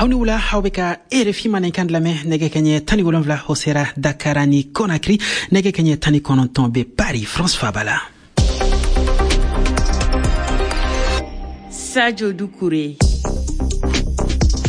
Aw ni wula, aw bɛ ka RFI Mandenkan lamɛn. Nɛgɛ kɛɲɛ 17, o sera Dakar ni Conakry. Nɛgɛ kɛɲɛ 19 bɛ Paris, France faba la. Sadio Doucouré.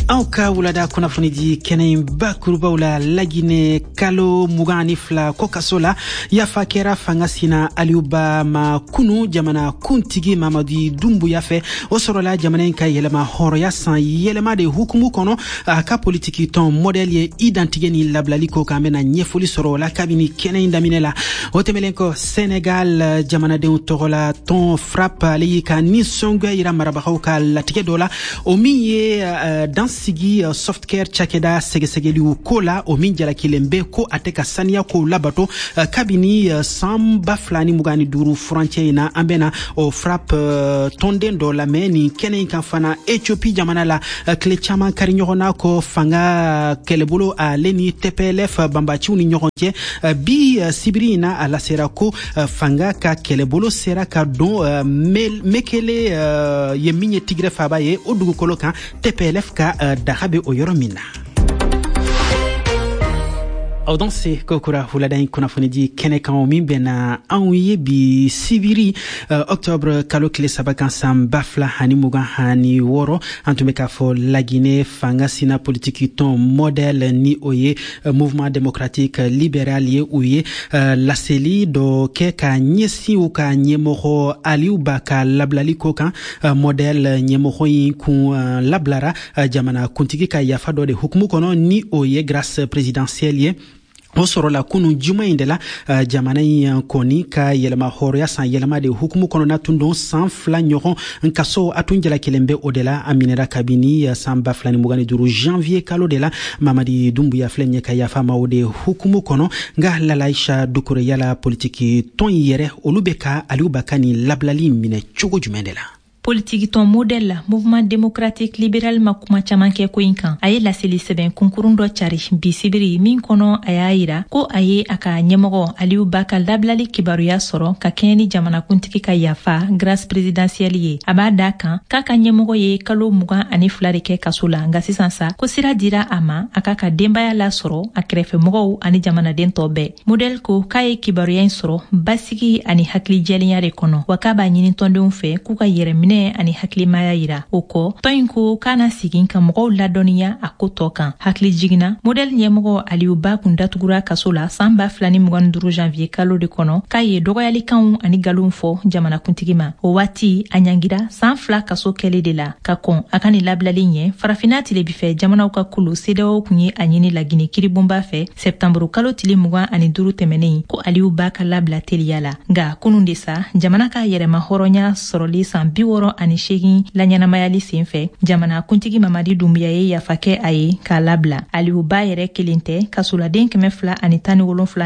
Anw ka wulada kunnafonidi kɛnɛ in bakurubaw la, Lagine, kalo 22 kɔ kaso la, yafa kɛra fanga sina Aliou Bah ma kunu jamana kuntigi Mamadi Doumbouya fɛ. O sɔrɔla jamana in ka yɛlɛma hɔrɔnya san yɛlɛma de hukumu kɔnɔ. A ka politiki tɔn MODEL ye i dantigɛ ni labilali ko kan. An bɛna ɲɛfɔli sɔrɔ o la kabini kɛnɛ in daminɛ la. O tɛmɛlen kɔ, Senegal jamanadenw tɔgɔla tɔn FRAPP, ale y'i ka nisɔngoya yira marabagaw ka latigɛ dɔ la, o min ye dan sigi Softcare cakɛda sɛgɛsɛgɛliw ko la, o min jalakilen bɛ ko a tɛ ka saniya kow labato kabini san 2025 furancɛ in na. An bɛna o FRAPP tɔnden dɔ lamɛn nin kɛnɛ in kan fana. Ethiopie jamana la, tile caman kari ɲɔgɔn na kɔ fanga kɛlɛbolo ale ni TPLF banbaciw ni ɲɔgɔn cɛ, bi sibiri in na, a lasera ko fanga ka kɛlɛbolo sera ka don Mekele ye, min ye Tigre faba ye, o dugukolo kan, TPLF ka daga bɛ o yɔrɔ min na. Aw danse kokura wulada in kunnafonidi kɛnɛ kan, min bɛnna anw ye bi sibiri octobre kalo tile 3 kan, san 2026. An tun bɛ k'a fɔ Lagine fanga sina politiki tɔn MODEL, ni o ye Mouvement démocratique libéral ye, u ye laseli dɔ kɛ ka ɲɛsin u ka ɲɛmɔgɔ Aliou Bah ka labilali ko kan. MODEL ɲɛmɔgɔ in kun labilara jamana kuntigi ka yafa dɔ de hukumu kɔnɔ, ni o ye grâce présidentielle ye. O sɔrɔla kunu juma in de la. Jamana in kɔni ka yɛlɛma hɔrɔnya san yɛlɛma de hukumu kɔnɔna tun don. San 2 ɲɔgɔn kaso a tun jalakilen bɛ o de la. A minɛra kabini san 2025 janvier kalo de la. Mamadi Doumbouya filɛ ɲɛ ka yafa ma o de hukumu kɔnɔ. Nka Lalaisha Dukure, yala politiki tɔn yɛrɛ, olu bɛ ka Aliou Bah ka nin labilali minɛ cogo jumɛn de la? Politikitɔn MODEL, Mouvement démocratique libéral, ma kuma caman kɛ ko in kan. A ye laseli sɛbɛn kunkurun dɔ cari bi sibiri, min kɔnɔ a y'a yira ko a ye a ka ɲɛmɔgɔ Aliou Bah ka labilali kibaruya sɔrɔ ka kɛɲɛ ni jamanakuntigi ka yafa, grâce présidentielle ye. A b'a da kan k'a ka ɲɛmɔgɔ ye kalo 22 de kɛ kaso la, nka sisan sa ko sira dira a ma a k'a ka denbaya lasɔrɔ, a kɛrɛfɛmɔgɔw ani jamanaden tɔ bɛɛ. MODEL ko k'a ye kibaruya in sɔrɔ basigi ani hakilijɛlenya de kɔnɔ, wa k'a b'a ɲini tɔndenw fɛ k'u ka yɛrɛminɛ ani hakilimaya yira. O kɔ, tɔn in ko k'a na sigin ka mɔgɔw ladɔnniya a ko tɔ kan. Hakili jiginna, MODEL ɲɛmɔgɔ Aliou Bah kun datugura kaso la san 2025 janvier kalo de kɔnɔ, k'a ye dɔgɔyalikanw ani galonw fɔ jamanakuntigi ma. O waati a ɲangira san 2 kaso kɛli de la. Ka kɔn a ka nin labilali ɲɛ, Farafinna tilebifɛ jamanaw ka kulu CEDEAO kun ye a ɲini Lagine kiribonba fɛ sɛptanburu kalo tile 25 tɛmɛnen ko Aliou Bah ka labila teliya la. Nka kunun de sa, jamana ka yɛrɛma hɔrɔnya sɔrɔli san 68 laɲɛnamayali sen fɛ, jamana kuntigi Mamadi Doumbouya ye yafa kɛ a ye k'a labila. Aliou Bah yɛrɛ kelen tɛ, kasoladen 217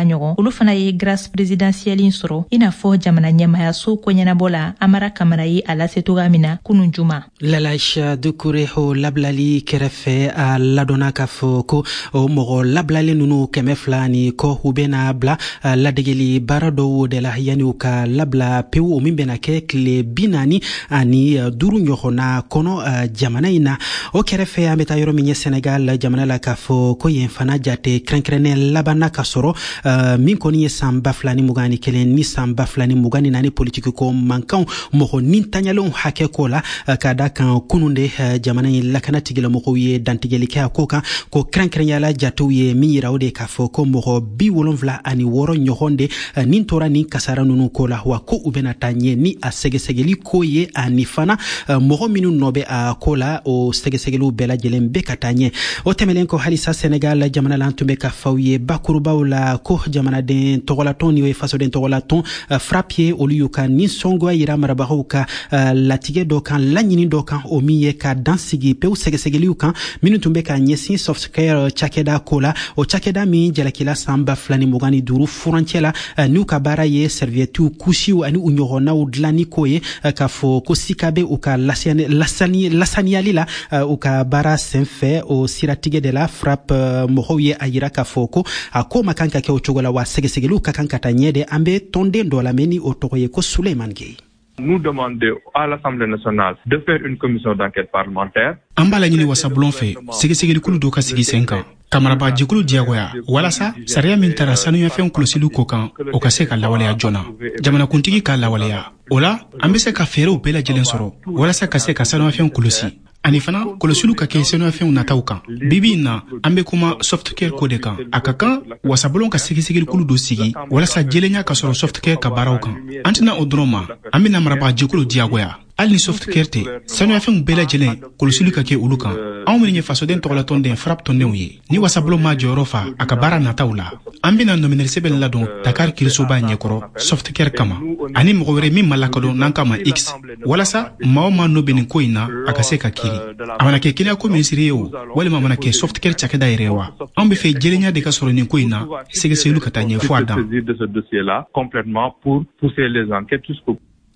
ɲɔgɔn, olu fana ye grâce présidentielle in sɔrɔ, i n'a fɔ jamana ɲɛmayaso koɲɛnabɔ la Amara Kamara ye a lase cogoya min na kunun juma. Lalaisha Dukure, o labilali kɛrɛfɛ, a ladɔnna k'a fɔ ko o mɔgɔ labilalen nunu 200 ni kɔ, u bɛna bila ladegeli baara dɔw de la yanni u ka labila pewu, o min bɛna kɛ tile 45 ɲɔgɔnna kɔnɔ jamana in na. O kɛrɛfɛ, an bɛ taa yɔrɔ min ye, Senegal jamana la, k'a fɔ ko yen fana jate kɛrɛnkɛrɛnnen labanna ka sɔrɔ, min kɔni ye san 2021 ni san 2024 politiki ko mankanw, mɔgɔ nintanyalenw hakɛ ko la. Ka da kan kunun de, jamana in lakana tigilamɔgɔw ye dantigɛli kɛ a ko kan ko kɛrɛnkɛrɛnyala jatew ye min yira, o de k'a fɔ ko mɔgɔ 76 ɲɔgɔn de nin tora nin kasara nunu ko la, wa ko u bɛna taa ɲɛ ni a sɛgɛsɛgɛli ko ye, ani fana mɔgɔ minnu nɔ bɛ a ko la, o sɛgɛsɛgɛliw bɛɛ lajɛlen bɛ ka taa ɲɛ. O tɛmɛlen kɔ, halisa Senegal jamana la, an tun bɛ ka faw ye bakurubaw la ko jamanaden tɔgɔlatɔn, ni o ye fasoden tɔgɔlatɔn FRAPP ye, olu y'u ka nisɔngoya yira marabagaw ka latigɛ dɔ kan, laɲini dɔ kan, o min ye ka dan sigi pewu sɛgɛsɛgɛliw kan minnu tun bɛ ka ɲɛsin Softcare cakɛda ko la, o cakɛda min jalakila san 2025 furancɛ la, n'u ka baara ye serviettew, kusiw ani u ɲɔgɔnnaw dilanni ko ye, k'a fɔ ko sika bɛ u ka lasaniyali la u ka baara senfɛ. O siratigɛ de la, FRAPP mɔgɔw ye a yira k'a fɔ ko a ko ma kan ka kɛ o cogo la, wa sɛgɛsɛgɛliw ka kan ka taa ɲɛ de. An bɛ tɔnden dɔ lamɛn, ni o tɔgɔ ye ko Suleiman Gueye. Nous demander à l'Assemblée nationale de faire une commission d'enquête parlementaire. An b'a laɲini wasabulon fɛ, sɛgɛsɛgɛlikulu dɔ ka sigi sen kan ka marabagajɛkulu diyagoya walasa sariya min tara sanuyafɛnw kɔlɔsili ko kan, o ka se ka lawaleya joona, jamanakuntigi ka lawaleya. O la, an be se ka fɛɛrɛw bɛɛ lajɛlen sɔrɔ walasa ka se ka sanuyafɛnw kɔlɔsi, ani fana kɔlɔsiliw ka kɛ sanuyafɛnw nataw kan. Bibi in na, an be kuma Softcare ko de kan. A ka kan wasabulon ka sɛgɛsɛgɛlikulu dɔ sigi walasa jɛlenya ka sɔrɔ Softcare ka baaraw kan. An tɛna o dɔrɔn ma, an bena marabagajɛkulu diyagoya, hali ni Softcare tɛ, sanuyafɛnw bɛɛ lajɛlen kɔlɔsili ka kɛ olu kan. Anw minnu ye fasoden tɔgɔlatɔnden FRAPP tɔndenw ye, ni wasabulon ma jɔyɔrɔ fa a ka baara nataw la, an bena nɔminɛli sɛbɛn ladon Dakar kirisoba ɲɛkɔrɔ Softcare kama, ani mɔgɔ wɛrɛ min ma lakodɔn n'an kama X, walasa maa o maa nɔ bɛ nin ko in na, a ka se ka kiri. A mana kɛ kɛnɛyako minisiri ye o, walima a mana kɛ Softcare cakɛda yɛrɛ ye wa, anw be fɛ jɛlenya de ka sɔrɔ nin ko in na, sɛgɛsɛgɛliw ka taa ɲɛ fɔ a dan.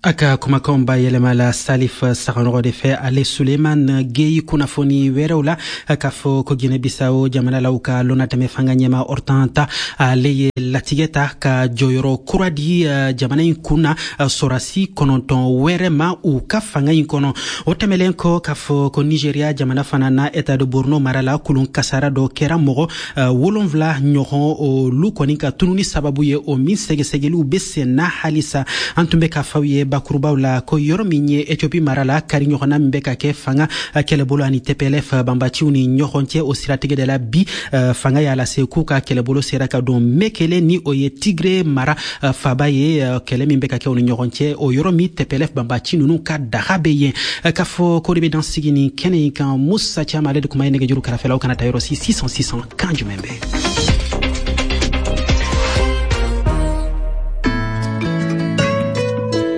A ka kumakanw ba yɛlɛma la Salif Saganɔgɔ de fɛ, ale Suleiman Geyi. Kunnafoni wɛrɛw la, k'a fɔ ko Guinée Bissau jamana la, u ka lɔnatɛmɛ fanga ɲɛma Hortan, ale ye latigɛ ta ka jɔyɔrɔ kura di jamana in kun na sɔrasi 9 wɛrɛ ma u ka fanga in kɔnɔ. O tɛmɛlen kɔ, k'a fɔ ko Nigeria jamana fana na, État de Borno mara la, kulun kasara dɔ kɛra mɔgɔ 7 ɲɔgɔn olu kɔni ka tununi sababu ye, o min sɛgɛsɛgɛliw be sen na halisa. An tun bɛ k'a f'aw ye bakurubaw la ko yɔrɔ min ye Ethiopie mara la, kari ɲɔgɔnna min bɛ ka kɛ fanga kɛlɛbolo ani TPLF banbaciw ni ɲɔgɔn cɛ, o siratigɛ de la, bi fanga y'a lase k'u ka kɛlɛbolo sera ka don Mekele, ni o ye Tigre mara faba ye. Kɛlɛ min bɛ ka kɛ u ni ɲɔgɔn cɛ, o yɔrɔ min TPLF banbaci ninnu ka daga bɛ yen. K'a fɔ ko de bɛ dan sigi nin kɛnɛ in kan. Musa Caman, ale de kuma ye nɛgɛjuru kɛrɛfɛlaw. Kana taa yɔrɔ si, 600 600. Kan jumɛn bɛ?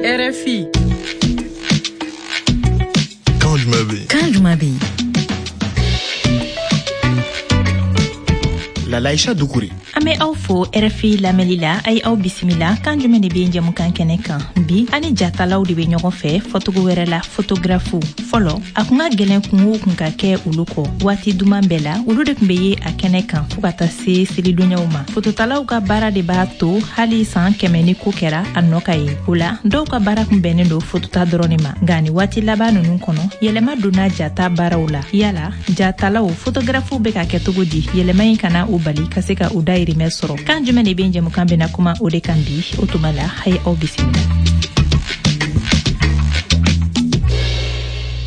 RFI. Kan jumɛn bɛ yen? Kan jumɛn bɛ yen? Lalaïcha Doucouré. An bɛ aw fo RFI lamɛnli la. A ye aw bisimila kan jumɛn de bɛ jɛmukan kɛnɛ kan. Bi, an ni jatalaw de bɛ ɲɔgɔn fɛ, fɔcogo wɛrɛ la photographe. Fɔlɔ, a kun ka gɛlɛn kungo kun ka kɛ olu kɔ. Waati duman bɛɛ la, olu de tun bɛ ye a kɛnɛ kan fɔɔ ka taa se selidonyaw ma. Fototalaw ka baara de b'a to hali san 100 ni ko kɛra, a nɔ ka ye o la. Dɔw ka baara kun bɛnnen don fotota dɔrɔn de ma, nka ni waati laban ninnu kɔnɔ, yɛlɛma donna jata baaraw la. Yala jatalaw, photographew bɛ ka kɛ cogo di yɛlɛma in kana u bali ka se ka u dayirimɛ sɔrɔ? Kan jumɛn de bɛ jɛmukan bɛna kuma o de kan bi. O tuma la, a ye aw bisimila.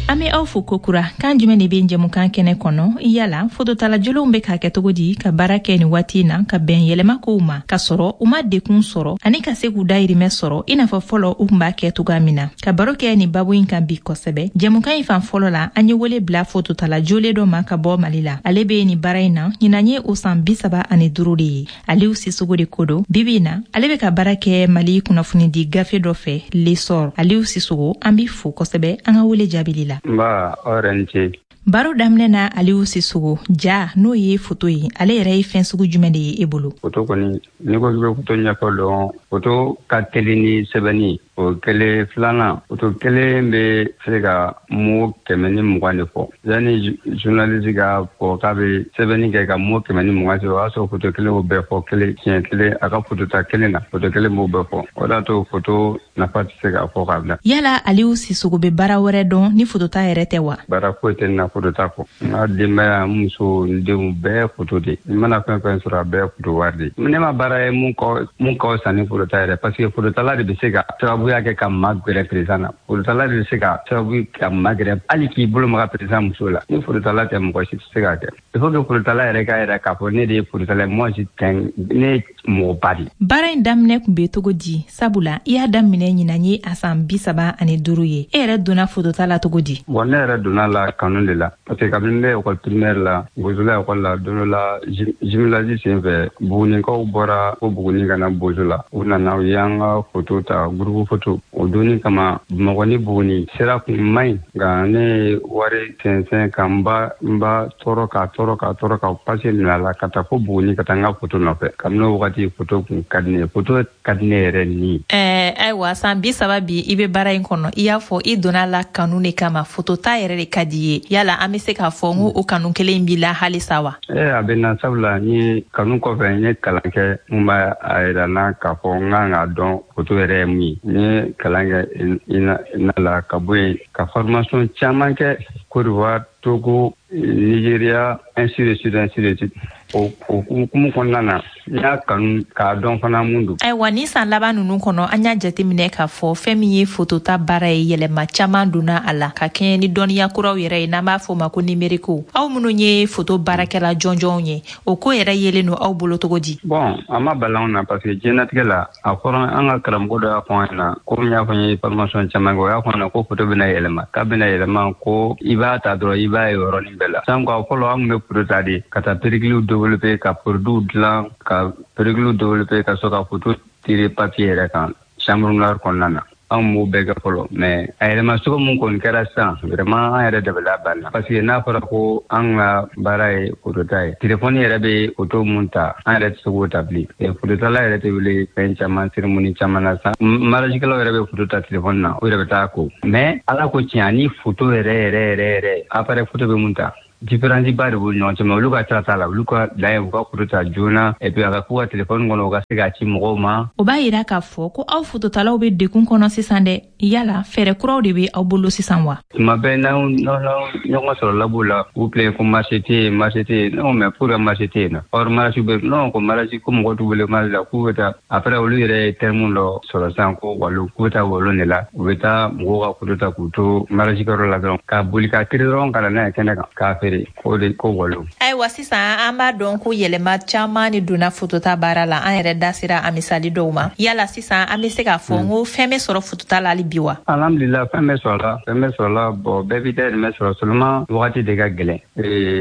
An bɛ aw fo kokura kan jumɛn de bɛ jɛmukan kɛnɛ kɔnɔ. Yala fototala jolenw bɛ k'a kɛ cogo di ka baara kɛ nin waati in na ka bɛn yɛlɛma kow ma, ka sɔrɔ u ma dekun sɔrɔ, ani ka se k'u dayirimɛ sɔrɔ i n'a fɔ fɔlɔ u tun b'a kɛ cogoya min na? Ka baro kɛ nin babu in kan bi kosɛbɛ, jɛmukan in fan fɔlɔ la, an ye wele bila fototala jolen dɔ ma ka bɔ Mali la. Ale bɛ nin baara in na, ɲinan ye o san 35 de ye. Aliou Sissoko de ko don. Bibi in na, ale bɛ ka baara kɛ Mali kunnafonidi gafe dɔ fɛ, L'Essor. Aliou Sissoko, an b'i fo kosɛbɛ an ka wele jaabili la. Nba, aw yɛrɛ ni ce. Baro daminɛ na, Aliou Sissoko, ja n'o ye foto ye, ale yɛrɛ ye fɛn sugu jumɛn de ye e bolo? Foto kɔni, n'i ko k'i bɛ foto ɲɛfɔ dɔrɔn, foto ka teli ni sɛbɛnni o kelen. Filanan, foto kelen bɛ se ka mot 120 de fɔ. Yanni journaliste ka fɔ k'a bɛ sɛbɛnni kɛ ka mot 120 sɛbɛn, o y'a sɔrɔ foto kelen b'o bɛɛ fɔ kelen siɲɛ kelen. A ka foto ta kelen na, foto kelen b'o bɛɛ fɔ. O de y'a to foto nafa tɛ se ka fɔ k'a bila. Yala Aliou Sissoko bɛ baara wɛrɛ dɔn ni fotota yɛrɛ tɛ wa? Baara foyi tɛ n na fotota kɔ. N ka denbaya, n muso, n denw bɛɛ foto de. N mana fɛn fɛn sɔrɔ, a bɛɛ foto wari de. Ne ma baara ye mun ka fisa ni fotota yɛrɛ, parce que fototala de bɛ se ka sababuya kɛ ka maa gɛrɛ président na. Fototala de bɛ se ka sababu ka maa gɛrɛ hali k'i bolo maga président muso la. Ni fototala tɛ, mɔgɔ si tɛ se k'a kɛ. Il faut que fototala yɛrɛ k'a yɛrɛ k'a fɔ ne de ye fototala ye, moi je tiens, ne ye mɔgɔba de. Baara in daminɛ kun bɛ cogo di? Sabula i y'a daminɛ ɲinan ye a san 35 ye. E yɛrɛ donna fotota la cogo di? Bon, ne yɛrɛ donna la kanu de la, parce que kabini ne école primaire la, Bozola école la, don dɔ la jumelage sen fɛ, Bugunikaw bɔra ko Buguni ka na Bozo la. U nana, u y'an ka photo ta, groupe photo. O donni kama, Bamakɔ ni Buguni sira kun man ɲi, nka ne ye wari sɛnsɛn ka n ba n ba tɔɔrɔ k'a tɔɔrɔ k'a tɔɔrɔ ka pase minɛ a la ka taa fo Buguni ka taa n ka photo nɔfɛ. Kabini o wagati, photo kun ka di ne ye, photo ka di ne yɛrɛ ni. Ayiwa, san 30 bi i bɛ baara in kɔnɔ. I y'a fɔ i donna la kanu de kama, photo ta yɛrɛ de ka di ye. Yala an bɛ se k'a fɔ n ko o kanu kelen b'i la halisa wa? A bɛ na, sabula n ye kanu kɔfɛ, n ye kalan kɛ mun b'a a yira n na k'a fɔ n kan k'a dɔn photo yɛrɛ ye mun ye. N N ye kalan kɛ INA la, ka bɔ yen ka formation caman kɛ Côte d'Ivoire, Togo, Nigeria, ainsi de suite, ainsi de suite. O hukumu kɔnɔna na, n y'a kanu k'a dɔn fana mun don. Ayiwa, ni san laban ninnu kɔnɔ, an y'a jateminɛ k'a fɔ fɛn min ye fotota baara ye, yɛlɛma caman donna a la ka kɛɲɛ ni dɔnniya kuraw yɛrɛ ye, n'an b'a fɔ o ma ko numérique. Aw minnu ye foto baarakɛla jɔnjɔnw ye, o ko yɛrɛ yelen don aw bolo cogo di? Bon, a ma bala anw na, parce que diɲɛnatigɛ la, a fɔra an ka karamɔgɔ dɔ y'a fɔ an ɲɛna, komi n y'a fɔ, n ye formation caman kɛ, o y'a fɔ an ɲɛna ko foto bɛna yɛlɛma, k'a bɛna yɛlɛma, ko i b'a ta dɔrɔn, i b'a ye yɔrɔnin bɛɛ la. Sanko a fɔlɔ, an tun bɛ foto ta de ka taa pelliculew développer, ka produits dilan, ka pelliculew développer, ka sɔrɔ ka foto tirer papier yɛrɛ kan chambre noire kɔnɔna na. Anw b'o bɛɛ kɛ fɔlɔ, mais a yɛlɛma cogo mun kɔni kɛra sisan, vraiment an yɛrɛ dabali banna, parce que n'a fɔra ko an ka baara ye fotota ye, telefɔni yɛrɛ bɛ foto mun ta, an yɛrɛ tɛ se k'o ta bilen. Fototala yɛrɛ tɛ wele fɛn caman, cérémonie caman na sisan. Mariagekɛlaw yɛrɛ bɛ foto ta telefɔni na, o yɛrɛ bɛ taa ko. Mais Ala ko tiɲɛ, ani foto yɛrɛ yɛrɛ yɛrɛ yɛrɛ, appareil photo bɛ mun ta, différence ba de b'u ni ɲɔgɔn cɛ. Mais olu ka sira t'a la, olu ka dan ye u ka foto ta joona, et puis a ka k'u ka telefɔni kɔnɔ, u ka se k'a ci mɔgɔw ma. O b'a yira k'a fɔ ko aw fototalaw bɛ degun kɔnɔ sisan dɛ. Yala fɛɛrɛ kuraw de bɛ aw bolo sisan wa? Tuma bɛɛ n'aw ɲɔgɔn sɔrɔ labo la, u filɛ ko marché tɛ yen, marché tɛ yen. Non, mais pour marché tɛ yen nɔ, or marché bɛ non, ko marché, ko mɔgɔ t'u wele marché la, k'u bɛ taa. Après, olu yɛrɛ ye terme dɔ sɔrɔ sisan ko walon, k'u bɛ taa walon de la, u bɛ taa mɔgɔw ka foto ta k'u to mariage kɛyɔrɔ la dɔrɔn, ka boli ka tiri dɔrɔn ka na n'a ye kɛnɛ kan k'a feere, k'o de ko walon. Ayiwa, sisan an b'a dɔn ko yɛlɛma caman de donna fotota baara la. An yɛrɛ da sera a misali dɔw ma. Yala sisan an bɛ se k'a fɔ n ko fɛn bɛ sɔrɔ fotota la hali bi wa? Alhamdulillah, fɛn bɛ sɔrɔ la, fɛn bɛ sɔrɔ la. Bon, bɛɛ b'i dahirimɛ sɔrɔ, seulement wagati de ka gɛlɛn.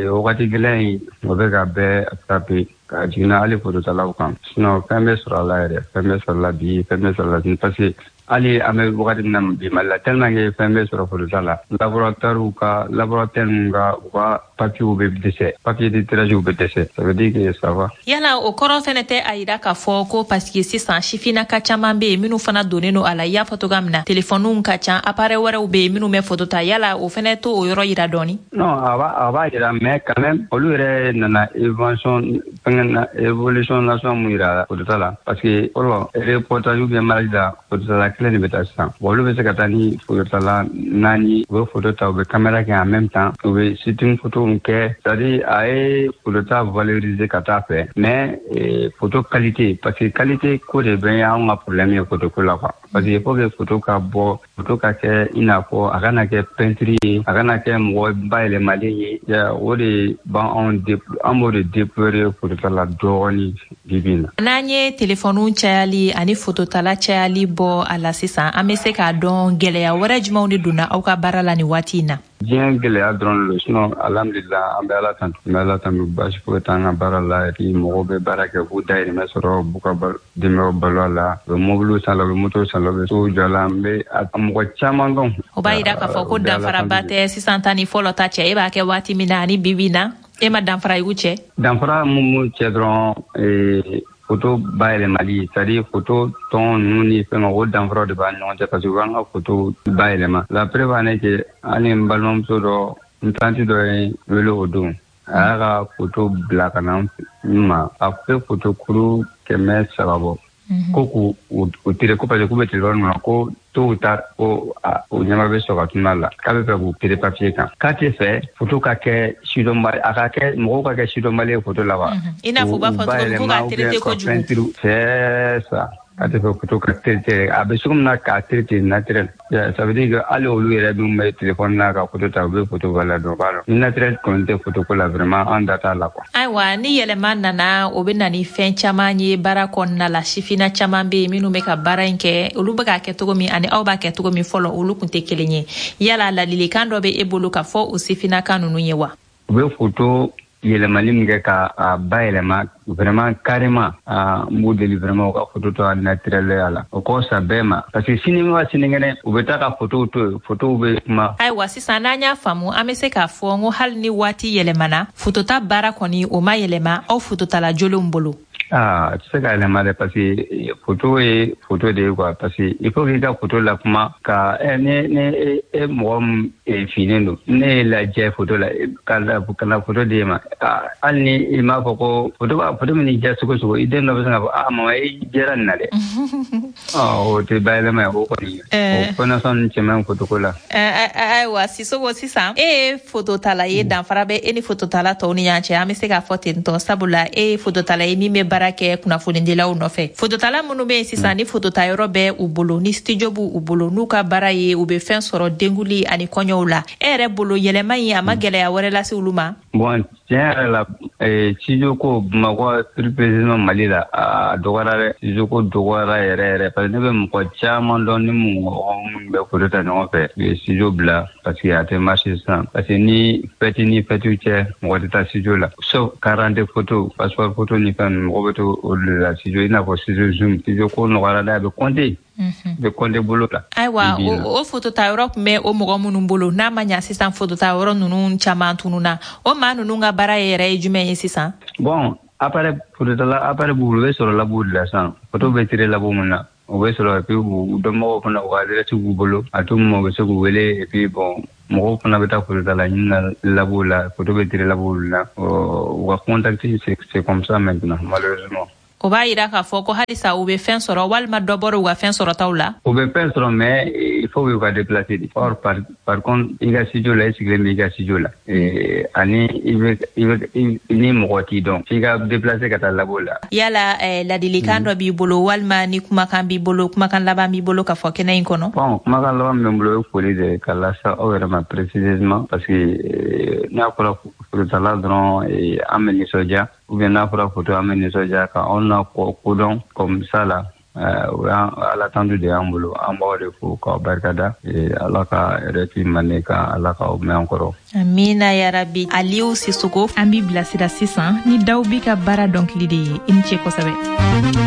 Wagati gɛlɛn in, o bɛ ka bɛɛ attraper ka jiginna hali fototalaw kan. Sinon fɛn bɛ sɔrɔ a la yɛrɛ, fɛn bɛ sɔrɔ la bi, fɛn bɛ sɔrɔ la sini, parce que hali an bɛ wagati min na bi Mali la, tellement que fɛn bɛ sɔrɔ fotota la, laboratoire ka, laboratoire ninnu ka, u ka papiers bɛ dɛsɛ, papier de tirage bɛ dɛsɛ. Ça veut dire que ça va. Yala o kɔrɔ fɛnɛ tɛ a yira k'a fɔ ko parce que sisan sifinnaka caman bɛ yen minnu fana donnen don a la, i y'a fɔ cogoya min na, telefɔniw ka ca, appareil wɛrɛw bɛ yen minnu bɛ foto ta, yala o fɛnɛ to o yɔrɔ yira dɔɔni? Non, a b'a yira, mais quand même olu yɛrɛ nana évolution fɛngɛ na, évolution nation mun yira fotota la, parce que fɔlɔ reportage ou bien mariage la, fototala kelen de bɛ taa. Sisan, bon, olu bɛ se ka taa ni fototala naani, u bɛ foto ta, u bɛ caméra kɛ en même temps, u bɛ shooting photo kɛ. C'est à dire a ye fotota valoriser ka taa fɛ, mais photo qualité, parce que qualité ko de bɛ anw ka problème ye photo ko la quoi, parce que il faut que photo ka bɔ, photo ka kɛ i n'a fɔ a kana kɛ peinture ye, a kana kɛ mɔgɔ bayɛlɛmalen ye. O de b'anw, an b'o de déplorer fotota la dɔɔni bi bi in na. N'an ye telefɔniw cayali ani fototala cayali bɔ a la sisan, an bɛ se k'a dɔn gɛlɛya wɛrɛ jumɛnw de donna aw ka baara la nin waati in na? Diɲɛ gɛlɛya dɔrɔn de don. Sinon alhamdulillah, an bɛ Ala tantu, an bɛ Ala tantu, baasi foyi t'an ka baara la. Et puis mɔgɔw bɛ baara kɛ, k'u dahirimɛ sɔrɔ, b'u ka denbayaw balo a la, u bɛ mobiliw san la, u bɛ motow san la, u bɛ sow jɔ a la. N bɛ mɔgɔ caman dɔn. O b'a yira k'a fɔ ko danfaraba tɛ sisan ta ni fɔlɔ ta cɛ. E b'a kɛ waati min na ani bi bi na, e ma danfara y'u cɛ? Danfara mun b'u cɛ dɔrɔn, photo bayɛlɛmali, c'est à dire photo tɔn ninnu ni fɛn, o danfaraw de b'a ɲɔgɔn cɛ, parce que u b'an ka photo bayɛlɛma. La preuve en est que hali n balimamuso dɔ, n tantie dɔ ye wele o don, a y'a ka photo bila ka na n ma, a bɛ photo kuru 300 bɔ, ko k'u u tirer, ko parce que k'u bɛ téléphone kɔnɔ, ko tôt ou tard ko o ɲɛma bɛ sɔrɔ ka tunun a la, k'a bɛ fɛ k'u tirer papier kan, k'a tɛ fɛ photo ka kɛ sidɔnbali, a ka kɛ mɔgɔw ka kɛ sidɔnbali ye photo la wa. I n'a fɔ u b'a fɔ cogo min ko k'a traiter kojugu. C'est ça, k'a tɛ fɛ photo ka traiter, a bɛ cogo min na k'a traiter naturel. Ça veut dire que hali olu yɛrɛ min bɛ téléphone na ka photo ta, u bɛ photo valeur dɔn, u b'a dɔn ni naturel kɔni tɛ photo ko la, vraiment an da t'a la quoi. Ayiwa, ni yɛlɛma nana, o bɛ na ni fɛn caman ye baara kɔnɔna la. Sifinna caman bɛ yen minnu bɛ ka baara in kɛ, olu bɛ k'a kɛ cogo min ani aw b'a kɛ cogo min fɔlɔ, olu tun tɛ kelen ye. Yala ladilikan dɔ bɛ e bolo ka fɔ o sifinnakan ninnu ye wa? U bɛ photo yɛlɛmali min kɛ ka a bayɛlɛma, vraiment carrément, n b'u deli vraiment u ka photo to a naturel ya la, o kɔ sa bɛɛ ma, parce que sini wa sinikɛnɛ u bɛ taa ka photo to yen, photo bɛ kuma. Ayiwa, sisan n'an y'a faamu, an bɛ se k'a fɔ n ko hali ni waati yɛlɛmana, fotota baara kɔni o ma yɛlɛma aw fototala jolenw bolo? Ah, a tɛ se ka yɛlɛma dɛ, parce que photo ye photo de ye quoi, parce que il faut k'i ka photo la kuma ka ne e mɔgɔ min finnen don, ne ye lajɛ photo la ka na photo d'e ma, hali ni i m'a fɔ ko photo b'a photo min diya cogo cogo, i den dɔ bɛ se k'a fɔ: "Ah mama, i jɛra nin na dɛ." O tɛ bayɛlɛma ye, o kɔni, o connexion cɛ man ɲi photo ko la. Ayiwa Sisoko, sisan e ye fototala ye, danfara bɛ e ni fototala tɔw ni ɲɔgɔn cɛ, an bɛ se k'a fɔ ten tɔ, sabula e ye fototala ye min bɛ baara kɛ kunnafonidilaw nɔfɛ. Fototala minnu bɛ yen sisan, ni fototayɔrɔ bɛ u bolo, ni studio b'u bolo, n'u ka baara ye u bɛ fɛn sɔrɔ denkuli ani kɔɲɔw la, e yɛrɛ bolo, yɛlɛma in a ma gɛlɛya wɛrɛ lase olu ma? Bon, tiɲɛ yɛrɛ la, studio ko, Bamakɔ, plus précisément Mali la, a dɔgɔyara dɛ. Studio ko dɔgɔyara yɛrɛ yɛrɛ, parce que ne bɛ mɔgɔ caman dɔn ni mɔgɔ minnu bɛ photo ta ɲɔgɔn fɛ, u ye studio bila parce que a tɛ marché sisan, parce que ni fête ni fête cɛ, mɔgɔ tɛ taa studio la, sauf 40 photo, passeport photo ni fɛn ninnu, mɔgɔ bɛ to olu de la studio, i n'a fɔ studio Zoom. Studio ko nɔgɔyara dɛ, a bɛ compter, bɛ compter bolo la. Ayiwa, o fotota yɔrɔ tun bɛ o mɔgɔ minnu bolo, n'a ma ɲa sisan fotota yɔrɔ ninnu caman tununa, o maa ninnu ka baara yɛrɛ ye jumɛn ye sisan? Bon, appareil fototala, appareil b'u bolo, u bɛ sɔrɔ labo de la sisan. Photo bɛ tirer labo mun na, o bɛ sɔrɔ, et puis u dɔnbagaw fana, u ka adresse b'u bolo, à tout moment u bɛ se k'u wele. Et puis bon, mɔgɔw fana bɛ taa fototala ɲini na labo la, photo bɛ tirer labo la, u ka contact, c'est comme ça maintenant, malheureusement. O b'a yira k'a fɔ ko halisa u bɛ fɛn sɔrɔ walima dɔ bɔra u ka fɛn sɔrɔtaw la? U bɛ fɛn sɔrɔ, mais il faut u ka déplacer de. Or par contre, i ka studio la, i sigilen bɛ i ka studio la, ani i bɛ ni mɔgɔ t'i dɔn, f'i ka déplacer ka taa labo la. Yala ladilikan dɔ b'i bolo, walima ni kumakan b'i bolo, kumakan laban b'i bolo ka fɔ kɛnɛ in kɔnɔ? Bon, kumakan laban min bɛ n bolo, o ye foli de ka lase aw yɛrɛ ma précisément, parce que n'a fɔra fototala dɔrɔn, an bɛ nisɔndiya, ou bien n'a fɔra photo, an bɛ nisɔndiya ka anw na kodɔn comme ça la. O y'an Ala tantu de y'an bolo. An b'aw de fo k'aw barikada. Ala ka RFI mande ka Ala k'aw mɛn an kɔrɔ. Amina yarabi. Aliou Sisoko, an b'i bilasira sisan ni Dawbi ka baara dɔnkili de ye. I ni ce kosɛbɛ.